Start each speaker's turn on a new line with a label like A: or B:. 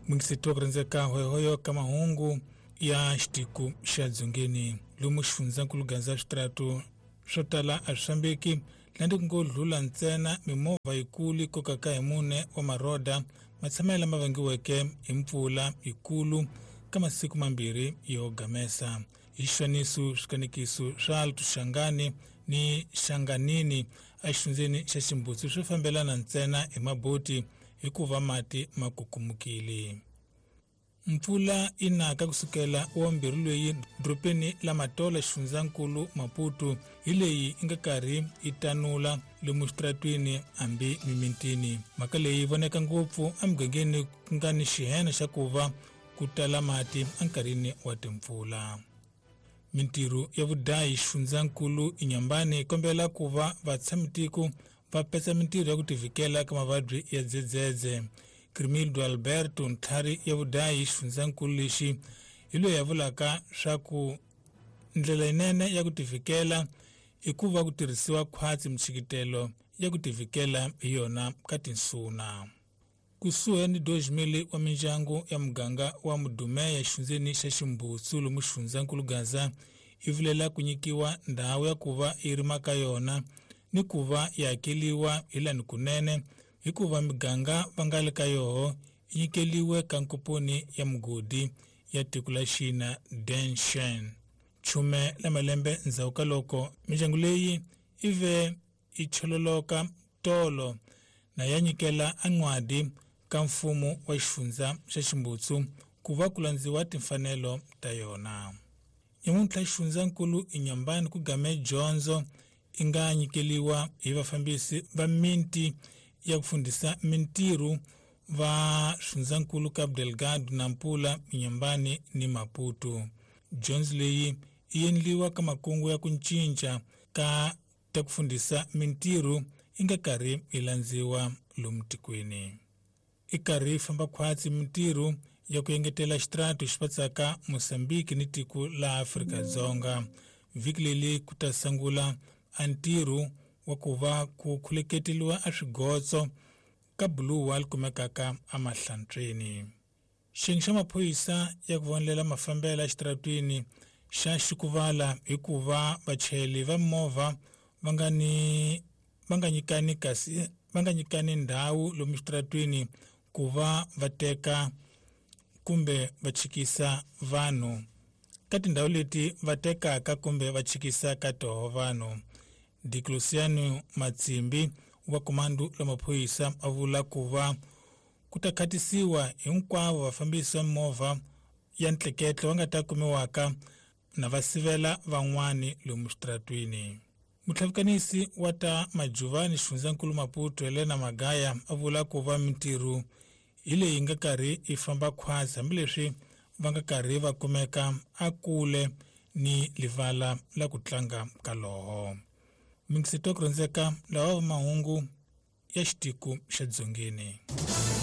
A: Mungisitu ku hoyohoyo ka mahungu ya xitiku xa dzongeni lomu xifundzankulu Gaza switaratu swo tala a swi fambeki landi ku ngo dlula ntsena mimovha yikulu yi kokaka hi mune wa maroda matshamelo lama vangiweke hi mpfula yikulu ka masiku mambirhi yo gamesa hi xifaniso swikanekiso swa Alto-Shangani ni Shanganini exifundzeni xa Ximbutsu swi fambelana ntsena hi maboti hikuva mati ma kukumukile. Mpfula yi naka kusukela wa mbirhi loyi dorobeni la Matola xifundzankulu Maputo hi leyi yi nga karhi yi tanula lomu xitaratwini hambi mimitini. Mhaka leyi yi voneka ngopfu emugangeni ku nga ni xihena xa ku va ku tala mati enkarhini wa timpfula. Mintirho ya vudayi xifundzankulu Inhambane yi kombela ku va vatshamitiko va petsa mintirho ya ku tivikela ka mavabyi ya dzedzedze. Crimildo Alberto ntlhari ya vudayi xifundzankulu lexi hi loyi a vulaka swa ku ndlela yinene ya ku tivikela i ku va ku tirhisiwa khwatsi mintshikitelo ya ku tivikela hi yona ka tinsuna. Kusuhi ni 2000 wa mindyangu ya muganga wa Mudumeya xifundzeni xa Ximbutsu lomu xifundzankulu Gaza yi vilela ku nyikiwa ndhawu ya ku va yi rima ka yona ni ku va yi hakeliwa hi lani kunene hikuva miganga va nga le ka yoho yi nyikeliwe ka nkomponi ya mugodi ya tiko la Xina Denshen. Chume la malembe ndzhaku ka loko mindyangu leyi yi ve yi chololoka tolo na ya nyikela an'wadi ka mfumo wa xifundza xa Ximbutsu ku va ku landziwa timfanelo ta yona. Nyamuntlha xifundzankulu Inhambane ku game dyondzo yi nga nyikeliwa hi vafambisi va miti ya ku fundhisa mintirho va xifundzankulu Cabo Delgado, Nampula, Inhambane ni Maputo. Dyondzo leyi yi endliwa ka makungu ya ku cinca ka ta ku fundhisa mintirho yi nga karhi yi landziwa lomu tikweni. I karhi yi famba khwatsi mintirho ya ku engetela xitaratu xi patsaka Mozambique ni tiko la Afrika-Dzonga. Vhiki leri ku ta sungula a ntirho wa ku va ku khuleketeliwa a swigotso ka buluwa li kumekaka emahlantsweni. Xiyenge xa maphorisa ya ku vonelela mafambelo exitaratwini xa xikuvala hikuva vachayeri va movha va nga ni va nga nyikani kasi va nga nyikani ndhawu lomu xitaratwini ku va va teka kumbe va chikisa vanhu ka tindhawu leti va tekaka kumbe va chikisa ka toho vanhu. Dicluciano Matsimbi wa komando la maphorisa a vula ku va ku ta khatisiwa hinkwavo vafambisi va movha ya ntleketlo va nga ta kumiwaka na va sivela van'wani lomu xitaratwini. Mutlhavikanisi wa ta Majuvani xifundzankulu Maputo Helena Magaya a vula ku va mintirho hi leyi nga karhi yi famba khwatsi hambileswi va nga karhi va kumeka a kule ni livala la ku tlanga ka loho. Mingisito ku rhandzeka lawa va mahungu ya xitiko xa dzongeni.